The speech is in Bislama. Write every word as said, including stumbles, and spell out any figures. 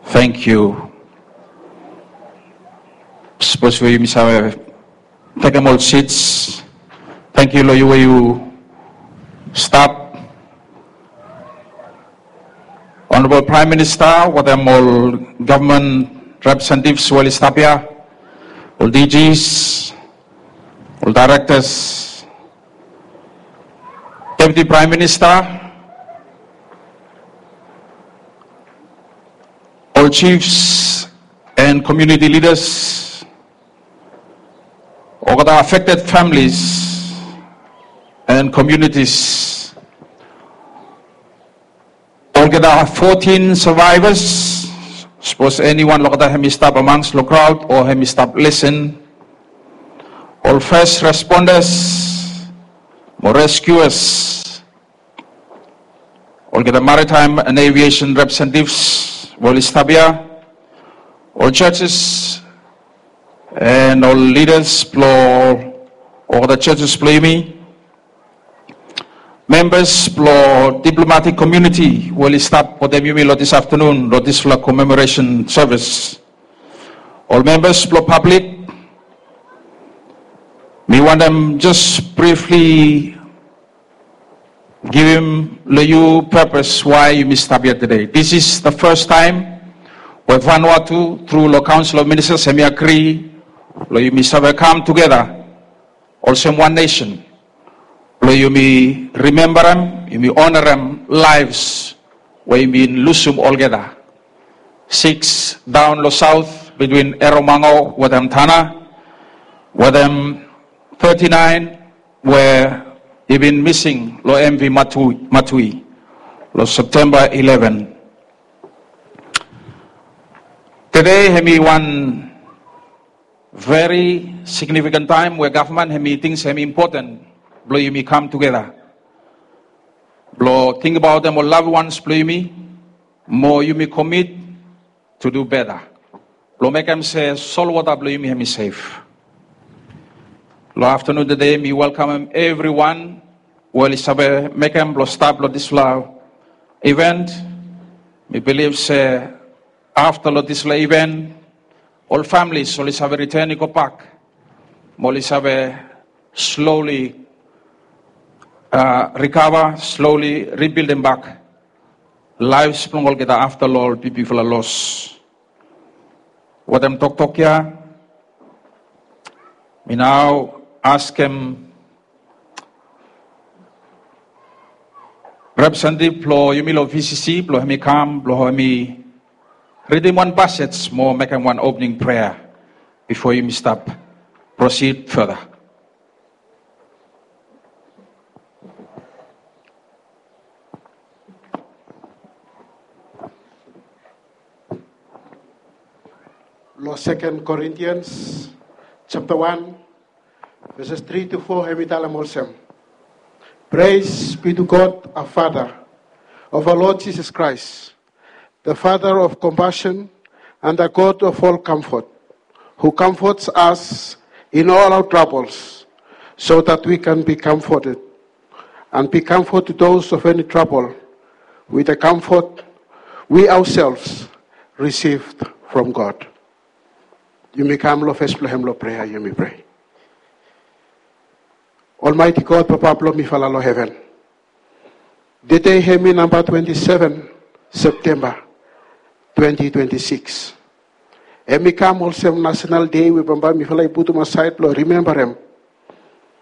Thank you. Sapos we yumi save tekem ol seats. Thank you lo yu we yu stap. Honorable Prime Minister, wetem ol government representatives we oli stap ia, ol D Gs, ol directors, Deputy Prime Minister, ol chiefs and community leaders, olgeta affected families and communities, olgeta fourteen survivors, sapos eniwan lo olgeta hemi stap among lo crowd o hemi stap listen, ol first responders mo rescuers, olgeta maritime and aviation representatives we oli stap ia, ol churches and ol leaders blo olgeta churches blo yumi, members blo diplomatic community we oli stap wetem yumi lo this afternoon lo disfala commemoration service, ol members blo public, mi wantem just briefly givim lo yu purpose why yumi stap ia today. This is the first time we Vanuatu, through lo Council of Ministers, hemi agree lo yumi save kam tugeta olsem wan nation, lo yumi rimembarem, yumi onarem lives we yumi bin lusum olgeta. Six daon lo south between Erromango wetem Tanna, wetem thirty-nine we i bin missing lo M V Matui, Matui lo September eleven. Today hemi wan very significant time we gavman hemi ting se hemi important blo yumi kam tugeta blo tingbaotem ol loved ones blo yumi, mo yumi commit to do better blo mekem se solwota blo yumi hemi sef. Lo aftanun today mi welkamem evriwan we oli save mekem blo stap lo disfala event. Mi bilif se afta lo disfala event, ol families oli save return i gobak mo oli save slowly, uh, recover, slowly rebuildem bak lives blong olgeta afta lo ol bigbigfala loss. Wetem toktok ia, mi nao askem representative blo yumi lo V C C blo hemi kam blo hemi ridim wan passage mo mekem wan opening prayer bifo yumi stap proceed further. Lo Second Corinthians chapter one, verses three to four, hemi talem olsem: Praise be to God, our Father, of our Lord Jesus Christ, the Father of compassion and the God of all comfort, who comforts us in all our troubles, so that we can be comforted and be comfort to those of any trouble with the comfort we ourselves received from God. Yumi kam lo fes blo hem lo prea, yumi prea. Almighty God, Papa blo mifala lo heven, tede hemi namba twenty seven Septemba twenty twenty six. Hemi kam olsem nasenal dei we bambae mifala i putum asaed blo rimembarem